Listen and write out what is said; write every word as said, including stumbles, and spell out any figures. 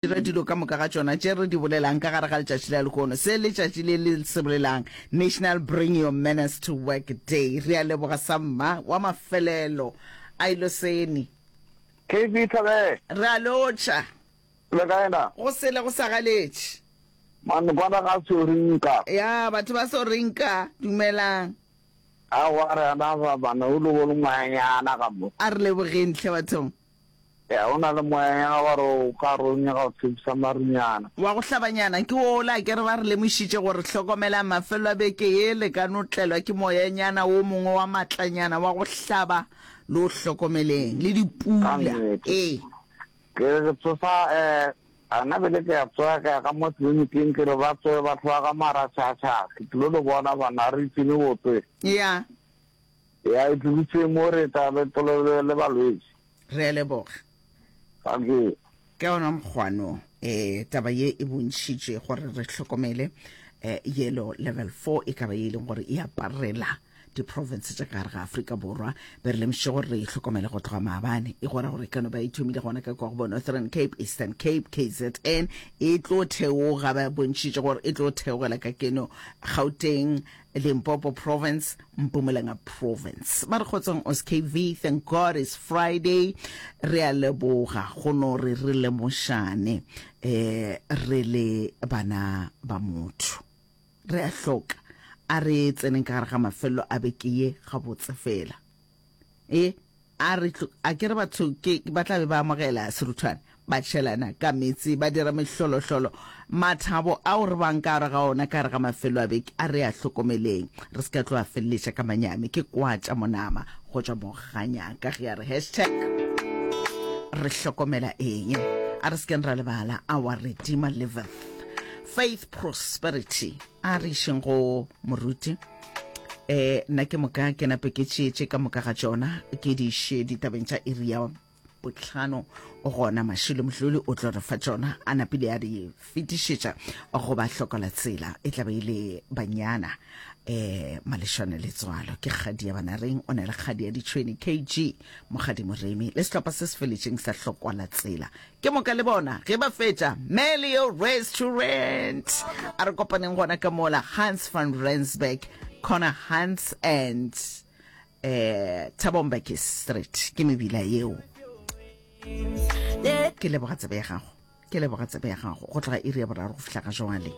Dira dilo ka moka ga tšona tše re di bolelang ka gare ga letšatši la lehono, se letšatši le le se bolelang, National Bring Your Manners to Work Day. Re a leboga samma wa mafelelo a Iloseni. K B Thabele. Re a lotšha. Le kae na? Go sele go sa galetše. Man kwana ga so rinka. Ya, batho ba so rinka. Dumelang. Aowa re ana ba bana o le bone moyanyana ka mo. A re lebogeng hle bathong. Ya, o na le moyanyana wa re o ka re o nyaka go tshepisa marunyana. Wa go hlabanyana ke wola, akere ba re lemošitše gore hlokomelang mafelelo a beke ye le ka no tlelwa ke moyanyana wo mongwe wa matlanyana wa go hlaba, le o hlokomeleng, le Ka dipula. nnete. Ee. Ke re ke tsosa, eh, gana bjale ke a tsoga ka ya ka mo tleliniking ke re ba tsoge batho ba ka maratšhatšha, ke tlilo le bona bana re itsene botse. Ya. Ya, e tloditše mo re tla le polelo le balwetši. Re a leboga. Thank you. Ka ona mokgwano, eh, taba ye e bontšhitše gore re hlokomele, eh, yellow level four e ka ba ye e leng gore e aparela diprovince tša ka gare ga Afrika Borwa. Be re lemošitše gore re e hlokomele go tloga maabane. E gora gore e ka no ba e thomile gona ka kwa go bo Northern Cape, Eastern Cape, K Z N, e tlo theoga, ba bontšhitše gore e tlo theogela ka keno Gauteng, Limpopo Province, Mpumalanga Province. Ba re kgotsong os K V, thank God it's Friday. Re a leboga go no re re lemošane eh re le bana ba motho. Re a hloka a re tseneng ka gare ga mafelelo a beke ye gabotse fela. E a re tlo, a ke re batho ke ba tla be ba amogela seruthwane, ba tšhelana ka meetse, ba dira mehlolohlolo. Mathabo ao re bang ka gare ga ona ka gare ga mafelo a beke a re a hlokomeleng, re se ka tlo a feleletša ka manyami. Ke kwa tša monama go tšwa Moganyaka ge a re hashtag re hlokomela eng. A re se keng ra lebala our Redeemer liveth. Faith prosperity. A re išeng go moruti. Eh, nna ke moka ke nape ke tšeetše ka moka ga tšona ke di iše ditabeng tša iri ya bohlano. Gona Mashilo Mdluli o tlo re fa tšona a napile a di fetišetša go ba hlokola tsela e tla be e le banyana eh malešwane letswalo ke kgadi ya banareng o na le kgadi ya ditšhweni K G Mokgadi Moremi le sehlopha se se feletšeng sa hlokola tsela ke moka le bona ge ba fetša Melio Restaurant a re kopaneng gona ka mola Hans van Rensburg corner Hans and eh Thabo Mbeki Street ke mebila yeo. Ke leboga tsebe ya gago, ke leboga tsebe ya gago go tloga iri ya boraro go fihla ga jwale.